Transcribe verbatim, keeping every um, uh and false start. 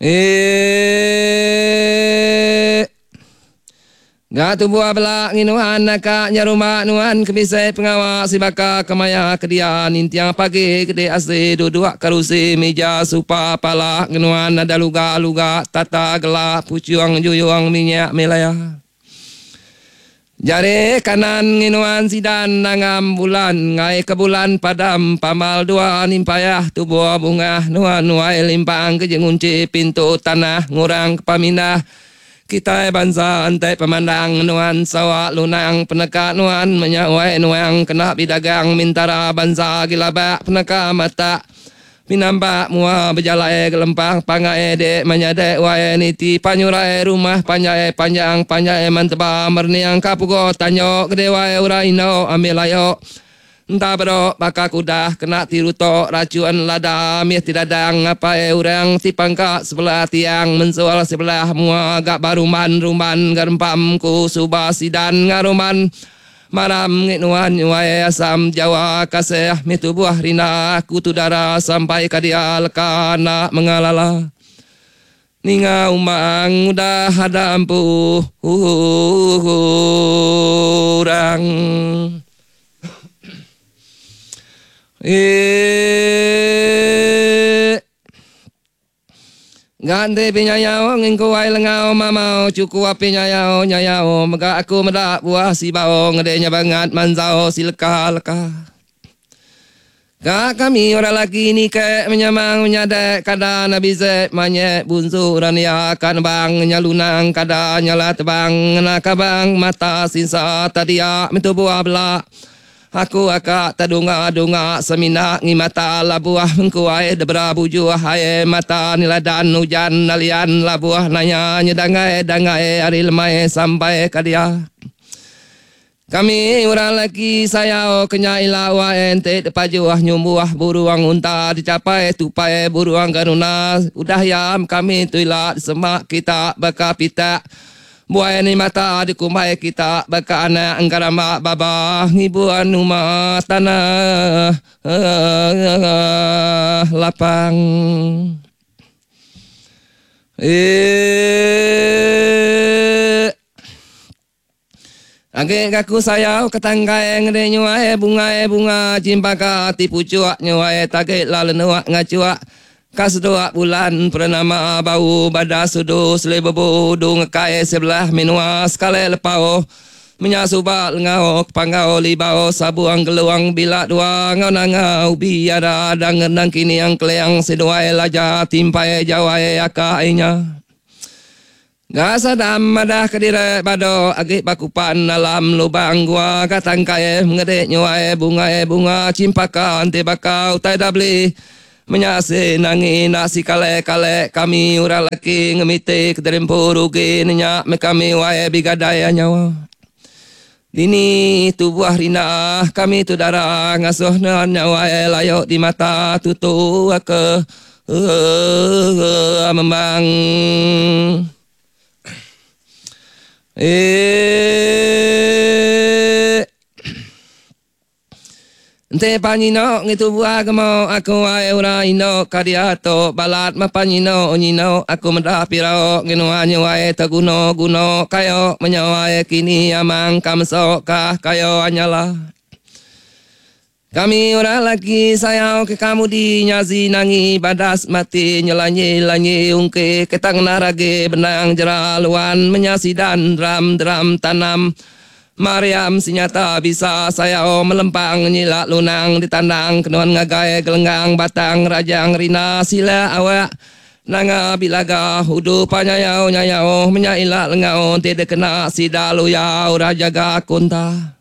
Eh. Ga tubuh bela nginuan naka nyerumba nuan ke bisi pengawa sibaka kemaya ke dia nintiang pagi gede asi duduk kerusi mija supa pala ngenuan ada luga-luga tata gela puchung juyung minyak milaya. Jari kanan nginuan sidan nangam bulan ngai ke bulan padam pamal dua nimpayah tubuh bunga nuan nuai limpang ke jengunci pintu tanah ngurang ke pamindah. Kitai bansa entai pemandang nuan sawa lunang peneka nuan menyawai nuang kena bidagang mintara bansa gilabak peneka mata pinampak mua bejalai gelempang pangai dek menyadek wai niti panyurai rumah panjai panjang panjai manteba merniang kapugo tanyo gede wai urai ino ambil ayo entah berok baka kuda kena tirutok racun lada mih tidadang apai orang si pangka sebelah tiang mensual sebelah mua agak baruman rumban garempam ku suba sidan ngaruman maram ngit nuan nyuai asam Jawa kasih mi tubuh rina aku tu dara sampai ka dia leka nak mengalala ninga umang udah ada ampu urang. Eh, Ganti pinyayau ngingku ai lengau mamau cuku api nyayau nyayau mega aku medak buah si bau ngedenya bangat manzau silka leka. Ka kami orang laki ni ke menyamang menyadek kada nabi zek manyek bunzu rania kan bang nyalunang kada nyala tebang ngena kabang mata sinsa tadia mitu buah belak. Aku akak tadunga-dunga semina ngimata labuah mengkuai debra bujuh ae mata niladan hujan nalian labuah nanya nyedangai dangai ari lemai sampai kadia. Kami orang laki sayau kenya ila wa ente depajuah nyumbuah buruang unta dicapai tupai buruang garuna udah yam kami tu ila semak kita baka pita. Buai ni mata di kumbai kita baka anak engkarama baba ngibuan rumah tanah lapang. Eh, Age gaku sayau ketanggai ngede nyuai bunga bunga cimpaka tipu cuak nyuai tage lalu nuak ngacuak. Kas dua bulan pernama bau bada sudu selebebu dung kai sebelah minua sekali lepau menyasuba lengau panggau libau sabuang geluang bila dua ngau nangau biara dangenang kini yang keleang seduai laja timpai jawai akainya. Gasa dam madah kedire bado agi bakupan dalam lubang gua katangkai mengedek nyuai bunga bunga cimpaka anti bakau tai dabli. Menyasi nangi nasi kale kale kami ura laki ngemite kederimpu rugi nenyak me kami wae bigadai nyawa. Dini tubuh rina kami tu darah ngasuh nyawa layok di mata tutu ke membang. Eh, Ente panyino ngitu buah gemo aku ai ura ino kadiato balat ma panyino nyino aku mendah pirao nginu anyu ai teguno guno kayo menyawa kini amang kamso kah kayo anyala. Kami ora lagi sayau ke kamu di nyazi nangi badas mati nyelanyi lanyi ungke ketang narage benang jeraluan menyasidan dram dram tanam. Mariam sinyata bisa saya oh melempang nyilak lunang ditandang kenuan ngagai gelenggang batang rajang rina sila awak nanga bilaga hudu panyayau nyayau menyailak lengau tidak kena sidalu ya ura jaga kunta.